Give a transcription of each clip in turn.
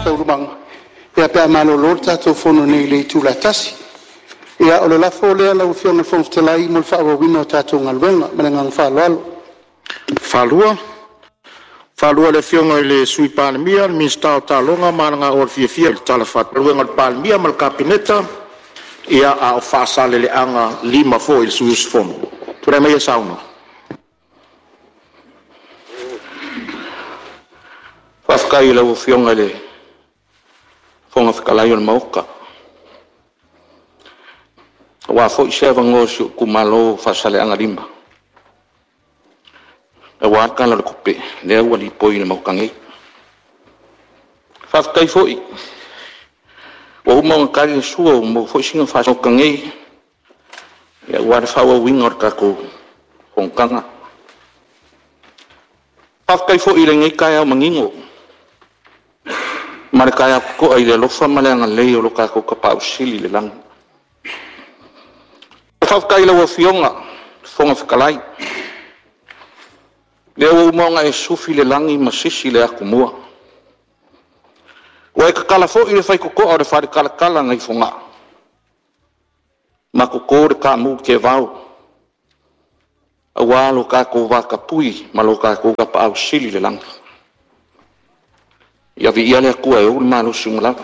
Taualumaga pe a malolo le tatou Fono nei i le itula e 1:00. Ia o le lafo lea lau Afioga i le Fofoga Fetalai mo le faaauauina o tatou galuega. Ma le agaga faaaloalo. Faaluaina e le Afioga i le Sui Palemia, le Minisita o Taaloga ma Aganoa i le Tala Faatatau ma le Kapeneta ia a o Faasaleleaga 5 foi i le sui usufono. Tulai mai e saunoa. Faafetai i lau Afioga i le Fofoga Fetalai o le Maota, aua foi se avanoa o si ou itumalo o Faasaleleaga 5 aua le Tala o le Tupe lea ua lipoi i le Maota nei. Faafetai foi ua uma ona tali le sua ua maua foi sina faasinomaga nei aua le faaauauina o le tatou fonotaga. Faafetai foi i lenei taeao manino ma le taeao totoa i le alofa ma le agalelei o lo tatou Tapaau Sili i le lagi. Faafetai i lau Afioga i le Fofoga Fetalai, lea ua uma ona e sufi le lagi ma sisi le atumua, ua e tatala foi le faitotoa o le faletalatala nai Fogaa ma toto le taamu teevao aua lo tatou vatapuia ma lo tatou Tapaau Sili i le Lagi. Ia viia le Atua e ou le malosi uma lava.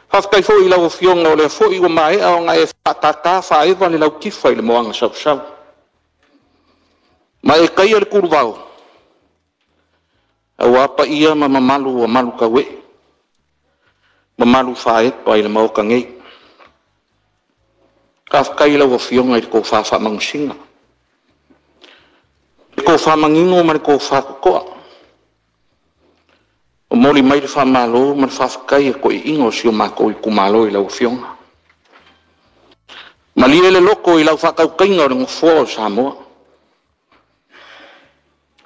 Faafetai foi i lau Afioga o lea foi ua maea ona e faatata faaeva le lautifa i le moana sausau, ma e taia le kuluvao aua paia ma mamalu ua malutauee, mamalu faaepa i le Maota nei. Faafetai i lau Afioga i le tofa faamanusina, le tofa manino ma le tofa totoa, momoli mai le faamalo ma le faafetai a toeaiina o si o matou itumalo i lau Afioga. Malie le loto i lau faatautaiga o le Nofoa o Samoa.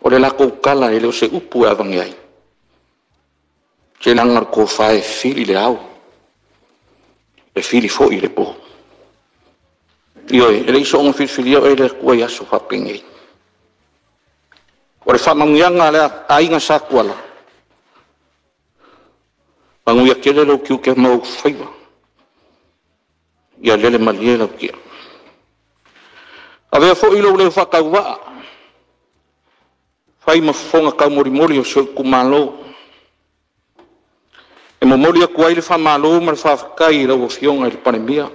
O le latou tala e le o se upu e aveane ai, leaga o le tofa e fili i le ao, e fili foi i le po. Ioe, e le i soona filifilia oe e le Atua i aso faapenei. O le faamanuiaga a le Aiga Satuala, manuia tele lou tiute ma ou faiva, ia lele malie lau tia. Avea foi lou leo faatauvaa e fai ma fofoga taumolimoli o si ou itumalo, e momoli atu ai le faamalo ma le faafetai i lau Afioga i le Palemia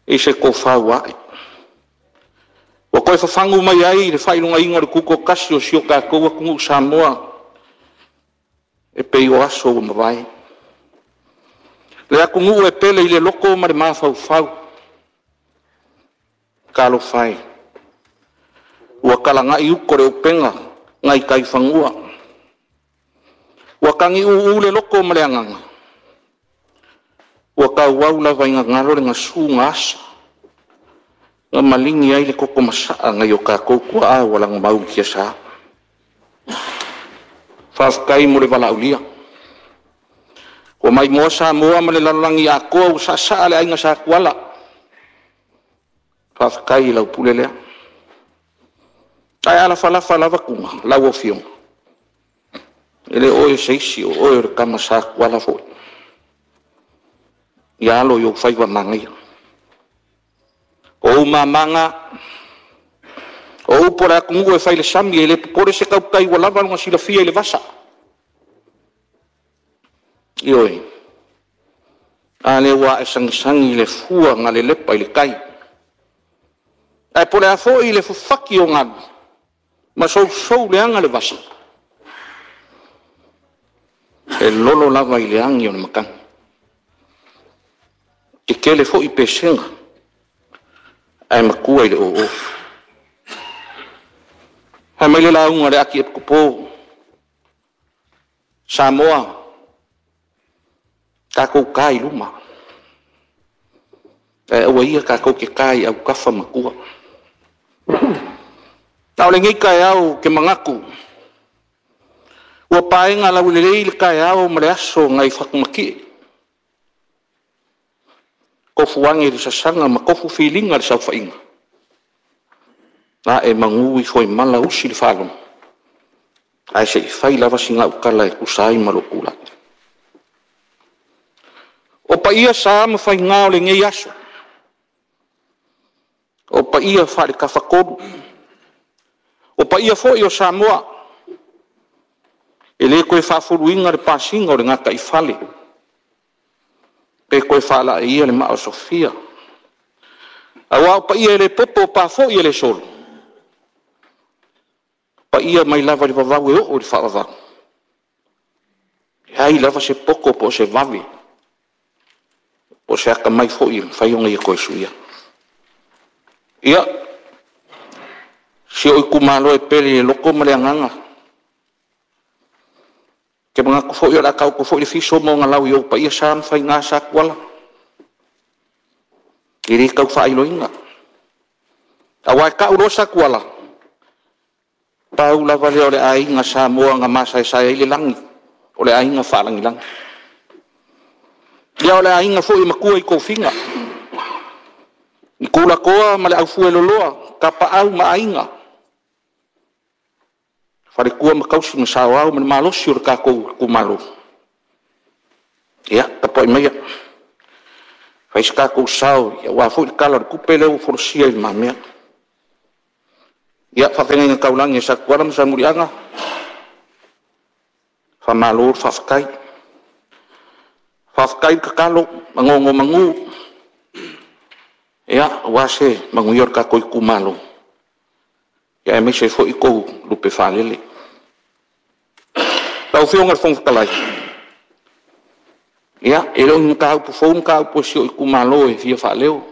i se tofa ua ae, ua toe fafagu mai ai le faailogaina o le tutoatasi o si o tatou atunuu Samoa e pei o aso ua mavae. Le atunuu e pele i le loto ma le mafaufau. Talofa e, ua talana'i uta o le upega nai tai fanua, ua tagiuu le loto ma le agaga, ua tauau lava ina galo le gasu na asa na maligi ai le toto masaa nai o tatou tuaa ua lagomau i tiasa. Faafetai mo le valaaulia, ua maimoa Samoa ma le lalolagi atoa ua saasaa le Aiga Satuala. Faafetai i lau pule lea. Ae a lafalafa lava tuma lau Afioga, e le o oe o se isi o oe o le tama Sa Tuala foi. Ia alo i ou faiva manaia. O ou mama na, o upu a le atunuu e fai i le sami, e le popole se tautai ua lava lona silafia i le vasa. Ioe, a lea ua ae sagisagi le fua na lelepa i le tai, ae po o le a foi le fafati o galu ma sousou leaga le vasa, e lolo lava i le agi a le matagi. E tetele foi pesega ae matua i le oo. Fai mai le lauga a le Ati Epikopo o Samoa, tatou ta i luma, ae aua ia tatou te ta i autafa ma tua. A o lenei taeao ou te manatu ua paega laulelei le taeao ma le aso nai Fatumatie, tofu ane i le sasana ma tofu filiga i le saofaiga, ae manu ifo i mala usi le faalogo. Ae se i fai lava sina au tala e tusa ai ma lou tulai. O paia sa ma faiga o lenei aso, o paia faale-Tafatolu, o paia foi o Samoa, e le toe faafuluina le pasiga o le gataifale pe toe faalaeia le maa o Sofia, aua o paia e le popo o pa foi e le solo, o paia mai lava i le vavau e oo i le faavavau, e leai lava se poto po o se vave po o se atamai foi e mafai ona ia toe suia. Ia, si ou itumalo e pele i le loto ma le agaga, ou te manatu foi o le a taoto foi le fiso ma ona lau i ou paia sa ma faiga Satuala, e le tau faailoina. Aua e tau loa Satuala, pau lava lea o le aiga Samoa na masaesae ai le lagi, o le aiga faalagilagi. Ia o le aiga foi e matua i tofiga, i tulatoa ma le aufueloloa, tapaau ma aiga, faletua ma tausi ma saoao ma le malosi o le tatou itumalo. Ia tapuai maia, fai so tatou sao aua foi le Tala o le Tupe lea ua folasia i lumamea. Ia, faafeagaiga taulagi a Satuala ma Salemuliaga, faamalo faafetai. Faafetai le tatalo ma nonomanu aua se manuia o le tatou itumalo, aemaise ai foi tou lupe faalele. Lau Afioga i le Fofoga Fetalai, ia, e le o ni mataupu fou mataupu a si ou itumalo e fia faaleo. O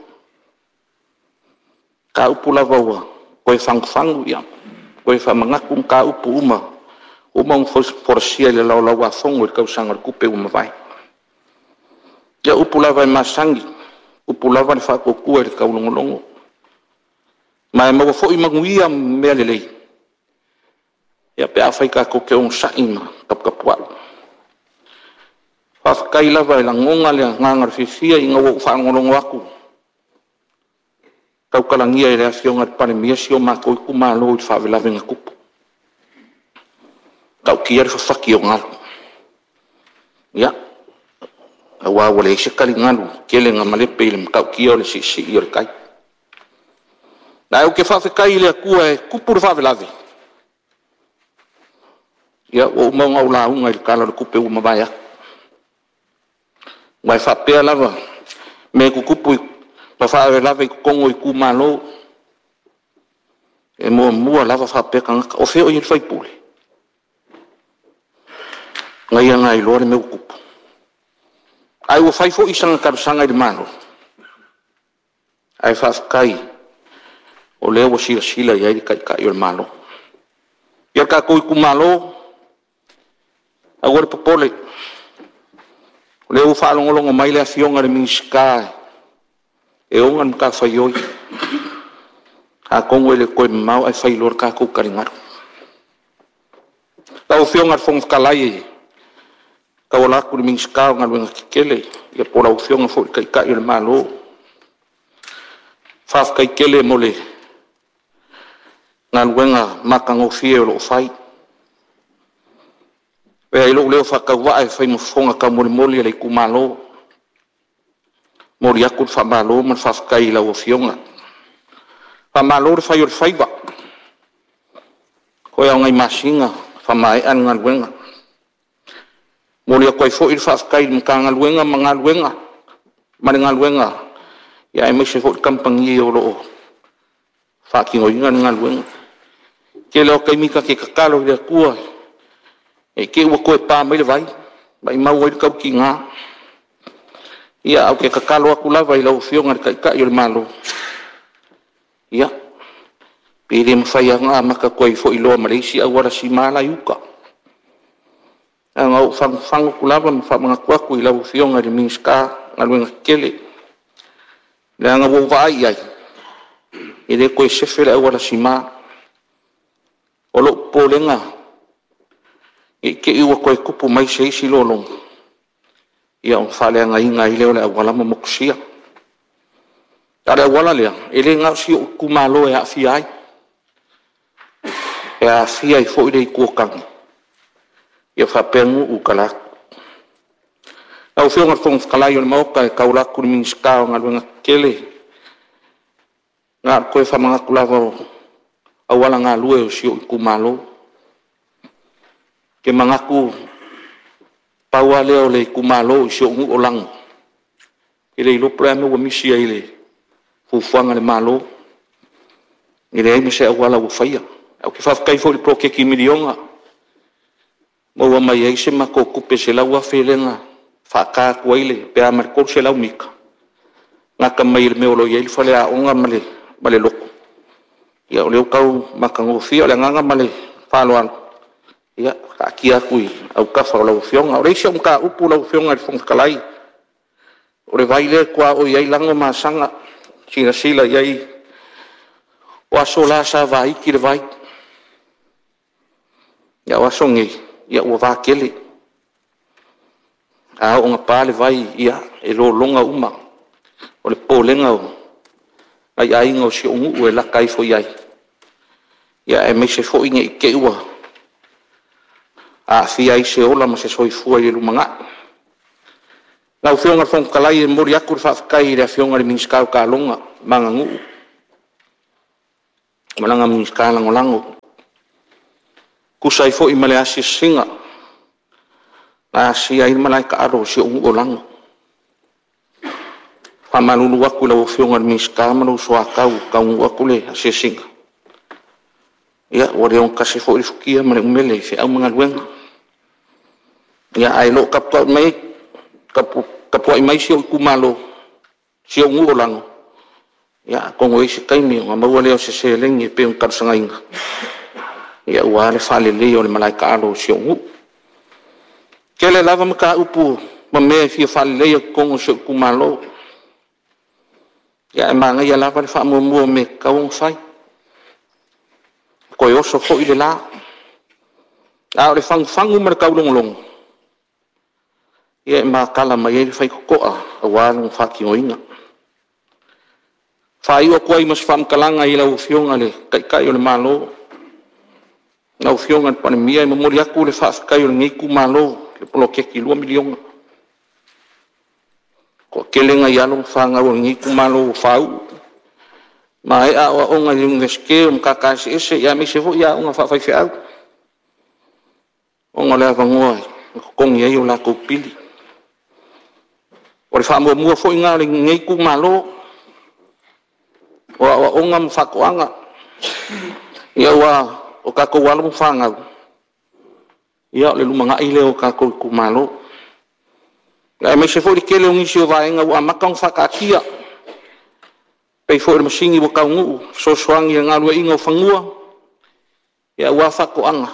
mataupu lava ua toe fagufagu toe faamanatu mataupu uma ua uma ona folasia i le Laulau-a-Fono i le tausaga o le tupe ua mavae. Ia o upu lava e masani, e tupu lava le faatuatua i le taulogologo, ma e maua foi manuia ma mea lelei pe afai tatou te onosai ma taputapuai. Faafetai lava e lagona le agaga o le fiafia ina ua ou faalogologo atu i tautalagia e le Afioga i le Palemia si o matou itumalo i le faalavelave na tupu. E matautia le fafati o galu, ia, aua ua leai se taligalu tele na malepe i le matautia o le siisii o le tai. Ae ou te faafetai i le Atua e tupu le faalavelave, ia ua uma ona ou lauga i le Tala o le Tupe ua mavae atu. Aua e faapea lava mea tutupu ma faalavelave i totonu o itumalo, e muamua lava faapea tagata, o fea o i ai le sui usufono? Na ia iloa le mea ua tupu. Ae ua fai foi sana talosaga i le Malo, ae faafetai o lea ua silasila i ai le Taitai o le Malo. Ia le tatou itumalo, aua le popole, o lea ua faalogologo mai le Afioga i le Minisita e ona le matafaioi, atonu e le o toe mamao ae fai loa le tatou taligalu. Lau Afioga i le Fofoga Fetalai e tauala atu i le Minisita o Galuega Tetele, ia po o lau Afioga foi i le Taitai o le Malo, faafetai tele mo le galuega matagofie o lo o fai. E avea ai lou leo faatauvaa e fai ma fofoga taumolimoli o le itumalo, e momoli atu le faamalo ma le faafetai i lau Afioga. Faamalo le fai o le faiva, toe lava o nai masina faamaea le galuega. E momoli atu ai foi le faafetai i le Matagaluega ma le galuega aemaise foi le kamupani o lo o faatinoina le galuega. O le tele lava o taimi ta te tatalo i le Atua ne i te i ua toe pa mai le vai, maumau ai le tautiga. Ia ae ou te tatalo atu lava i lau Afioga i le Taitai o le Malo, ia, pe le mafai lava ona amata atu ai foi loa ma le isi auala sima la e i uta. Na ona ou fagufagu atu lava ma faamanatu atu i lau Afioga i le Minisita o Galuega Tetele, leaga ua ou vaai i ai, e le toe sefe le auala sima. O lou popolega, ne i te i ua toe tupu mai se isi lologa ona faaleagaina ai lea o le auala ma motusia. A o le auala lea, e le na o si ou itumalo e aafia ai, e aafia ai foi le Itu o Tane Ia faapea nuu i talaatu. Lau Afioga i le Fofoga Fetalai o le Maota e tauala atu i le Minisita o Galuega Tetele, na ona toe faamanatu lava o auala galue o si ou itumalo. Ou te manatu pau lava lea o le itumalo i si ou nuu o Lano, e le iloa po o le a le mea ua misi ai i le fuafuaga a le Malo, e leai ma se auala ua faia. Ae ou te faafetai foi i le poloketi miliona, maua mai ai se matou tupe e $100,000 lea na faata atu ai pe a ma le 300 mita, gata mai i le mea o lo o i ai le faleaoga ma le lotu, ia o lea ua tau matagofie. O le agaga ma le faaaloalo, ia taatia atu i autafa o lau Afioga. O le isi au mataupu lau Afioga i le Fofoga Fetalai, o le vai lea e tuaoi ai Lano ma Asaga. Silasila i ai, o aso la sa vaiti le vai, a o aso nei, ua vatele. A oo ina pa le vai, ia e lologa uma. O le popolega o nai aiga o si ou nuu e lata ifo i ai, aemaise foi ne i te i ua aafia ai se ola ma se soifua i le lumanai. Lau Afioga i le Fofoga Fetalai, e momoli atu le faafetai i le Afioga i le Minisita o Taaloga ma Aganuu ma lana Minisita Lagolago, e tusa ai foi ma le asiasiga na asia ai le malae taalo o si ou nuu o Lano. E faamalulu atu i lau Afioga i le Minisita ma lou soatau ua taunuu atu le asiasiga, ia ua le ogatasi foi le futia ma le umele i feau ma galuega. Ae o lo o tapuai mai si ou itumalo, si ou nuu o Lano, atonu e i ai se taimi ona maua lea o se seleni e pei ona talosagaina aua le faaleleia o le malae taalo o si ou nuu. E tele lava mataupu ma mea e fia faaleleia i totonu o si ou itumalo, ae manaia lava le faamuamua o mea e tatau ona fai, toe oso foi le la. A o le fagufagu ma le taulogologo, ia e matala mai ai le faitotoa aua lona faatinoina. E faaiu atu ai ma se faamatalaga i lau Afioga i le Taitai o le Malo, lau Afioga i le Palemia, e momoli atu le faafetai a lenei itumalo i le poloketi $2 miliona. E toatele nai alo ma fanau a lenei itumalo ua faauu, maea aoaoga i le Iunivesite o Matata Eseese aemaise foi aoga faafaifeau, ona o le avanoa e totogi ai o latou pili. O le faamuamua foi lena a lenei itumalo, o aoaoga ma faatoaga, aua o tatou alo ma fanau, ia o le lumanai lea o tatou itumalo, aemaise foi le tele o nisi o vaega ua amata ona faataatia, e pei foi o le masini ua taunuu e fesoasoani i le galueaiina o fanua aua faatoaga,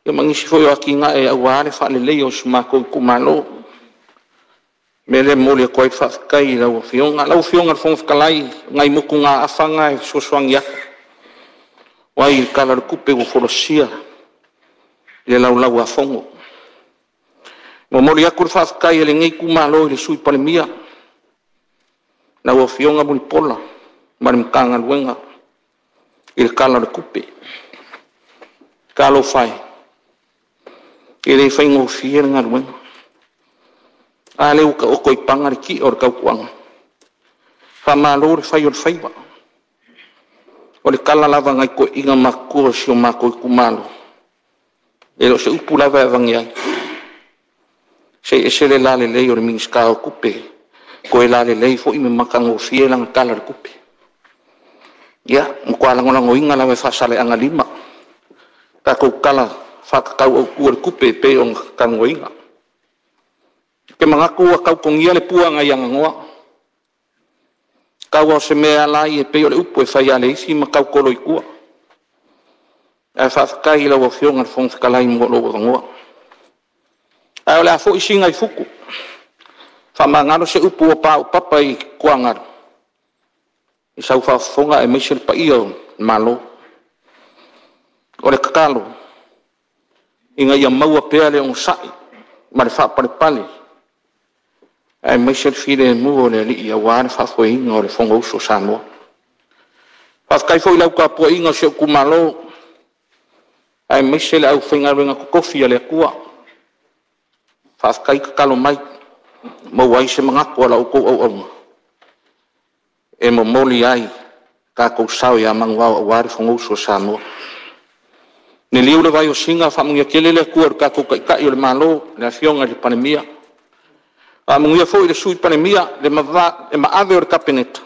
ia ma nisi foi o atinae aua le faaleleia o si o matou itumalo. O le mea lea e momoli atu ai le faafetai i lau Afioga. Lau Afioga i le Fofoga Fetalai, o nai motugaafa na e fesoasoani atu ai i le Tala o le Tupe ua folasia i le Laulau-a-Fono. E momoli atu le faafetai a lenei itumalo i le Sui Palemia, lau Afioga Mulipola ma le Matagaluega i le Tala o le Tupe. Talofa e, e le faigofie le galuega. A lea ua taoto i paga le ti'a o le tautuaga. Faamalo le fai o le faiva. O le tala lava a nai toeaiina matutua o si o matou itumalo, e le o se upu lava e aveane ai, se e ese le lalelei o le Minisita o Tupe, toe lalelei foi ma matagofie lana Tala o le Tupe. Ia, matua lagolagoina lava e Faasaleleaga 5 le tatou Tala Faatatau Autu o le Tupe e pei ona talanoaina. Ou te manatu ua tau togia le pua nai Aganoa, tau lava o se mea e ala ai e pei o le upu e fai lava a le isi ma tautolo i tua. Ae faafetai i lau Afioga i le Fofoga Fetalai mo lou avanoa. Ae o le a foi Sina i futu, faamagalo se upu ua paopapa i tuagalu i sau faafofoga aemaise le paia o le Malo. O le tatalo, ina ia maua pea le onosai ma le faapalepale aemaise le filemu o le Alii aua le faafoeina o le Fonousu a Samoa. Faafetai foi i lau tapuaiga si ou itumalo. Aemaise le aufaigaluega totofi a le Atua, faafetai tatalo mai, maua ai se manatu o la outou auauna e momoli ai lo tatou sao ia manuvao aua le Fonousu a Samoa. Liliu le vai o Sina faamanuia tele le Atua i lo tatou Taitai o le Malo, le Afioga i le Palemia, faamanuia foi i le Sui Palemia, le maave o le Kapeneta,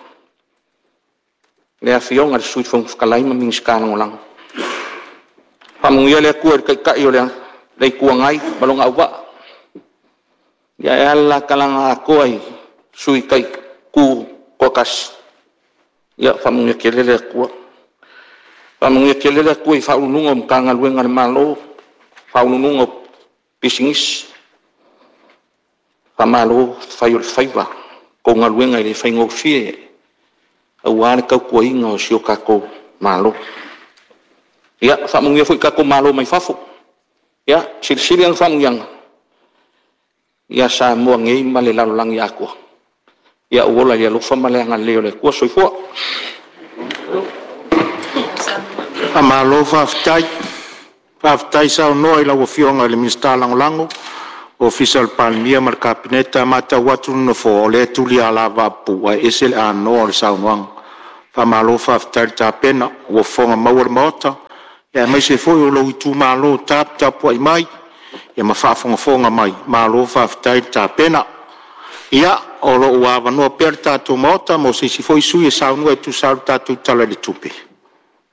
le Afioga i le Sui Fofoga Fetalai ma Minisita Lagolago. Faamanuia le Atua i le Taitai o le Itu Agai ma lona auvaa, ae a le la talaga atoa i Sui Tutoatasi, ia faamanuia tele le Atua. Faamanuia tele le Atua i Ofisa Sili o Pulega o Matagaluega a le Malo, Faauluuluga o Pisinisi, faamalo fai o le faiva. La outou galuega e le faigofie aua le tautuaina o si o tatou Malo. Ia faamanuia foi i tatou malo mai fafo, ia silisili ana faamanuiaga ia Samoa nei ma le lalolagi atoa. Ia ou ola i le alofa ma le agalelei o le Atua. Soifua. Faamalo faafetai, faafetai saunoa i lau Afioga i le Minisita Lagolago Ofisa o le Palemia ma le Kapeneta. E matau atu le Nofoa o lea e tuli lava lavapapuu ae ese le anoa o le saunoaga. Faamalo faafetai le tapena, ua fofoga maua le Maota aemaise foi o lou itumalo taputapuai mai ma faafogafoga mai, malo faafetai le tapena. Ia o lo o ua avanoa pea le tatou Maota mo se isi foi sui usufono e saunoa e tusa ai o le tatou Tala i le Tupe.